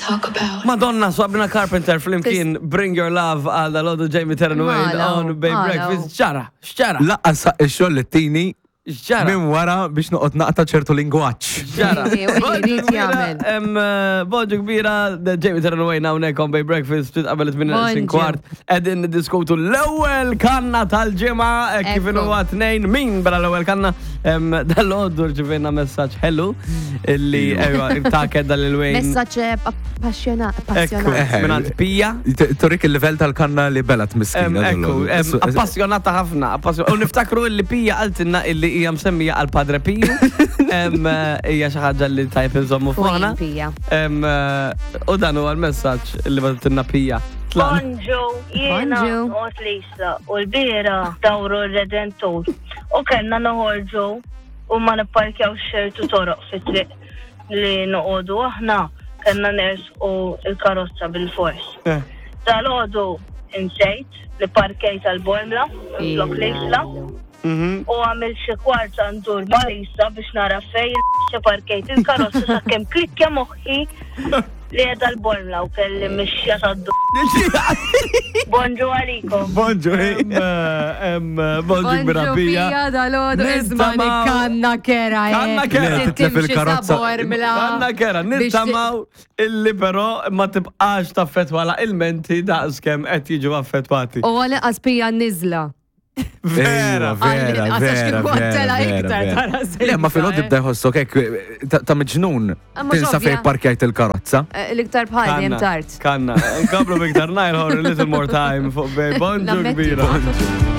talk about. Madonna, Sabrina Carpenter flimkien Bring Your Love għal dal-għodu Jamie Terran Wayne Mala, on Bay mala. Breakfast. Ġara, xġara, Laqqas ix-xogħol li tini xġara. minn wara biex noqgħod naqta' ċertu lingwaġġ. Ġara. Ejja, u Bonġu jrid kbira, jagħmel. em, eh, Bonġu kbira, Jamie Terran Wayne hawnhekk on Bay Breakfast ftit qabel it-8 Bonġu. kwart. Qegħdin niddiskutu l-ewwel kanna tal-ġimgħa eh, kif Ekku. inhu tnejn min bla l-ewwel kanna em, dal-għoddu rċivejna messaġġ ħelu illi ejwa ta' kedda lil Wayne. Messaġġ appassjonat. Ekku, Eh, mingħand Pija. T- Turik il-livell tal-kanna li belat Em, miskina. Ekku, em, appassionata ħafna. appassjon- U niftakru illi Pija qaltilna illi hija msemmija għal Padre Piju. Em, eh, Hija xi ħaġa li tajb inżommu fuqna. Wayne Pija. Em, eh, U dan huwa l-messaġġ li bagħtilna Pija. Tlaqna. Bonġu, jiena Bonġu. noqgħod Lisa u l-bira dawru r-Redentur u kellna noħorġu u ma nipparkjaw xertu toroq fit-triq li noqogħdu aħna kellna nersqu il-karozza bil-fors. Eh. Dal-għodu insejt li parkejt għal-Bormla, flok Lisa, Mhm. u għamil xi kwart ndur ma' Lisa biex nara fej il parkejt il-karozza sakemm klikkja moħħi li qiegħda l-Bormla u kelli mixja tad Bonġu għalikom. Bonġu, Em, eh, em, eh, Bonġu kbira Pija. Pija dal-għodu isma Nittamaw- kanna kera. eh. Kanna kera. Trid Titlef timxi il-karozza. sa Bormla. Kanna kera, Biex ti- nittamaw illi però ma tibqax taffetwa la il-menti daqskemm qed jiġu affettwati. U għal pija nizla. Vera. Vera, vera, Għal- għax vera, kieku għattela vera, iktar vera. tara sejta, Le, ma fil-għod eh. ibda jħossok hekk ta' ta' miġnun Ah, mhux tinsa ovvja. fej parkjajt il-karozza. Eh, L-iktar bħal jem tard. Kanna, nkomplu biktar najħor a little more time fuq Bay. Bonġu Nammetti. kbira.